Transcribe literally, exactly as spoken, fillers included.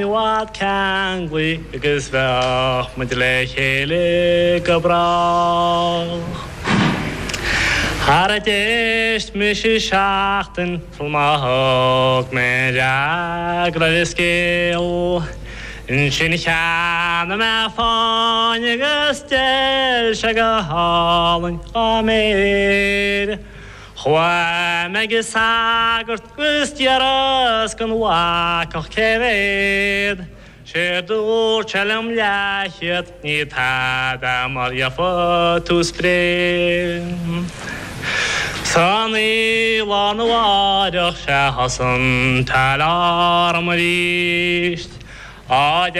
I bhfad ceanglaithe agus bheadh muid le chéile go brách. Char d'éist mise seachtain sul má thug mé fhreagra ar an scéal. Ansin cheannaigh mé fáinne agus d'fheil sé go hálainn dhá méir. Chuaigh mé ag an sagart agus d'iarras den bhacach cé mhéad, Séard dúirt sé liom leathchéad ní tada mar gheofaidh tú spré. San oíche lá arna mhárach sea thosaigh an t-alarm arís. Á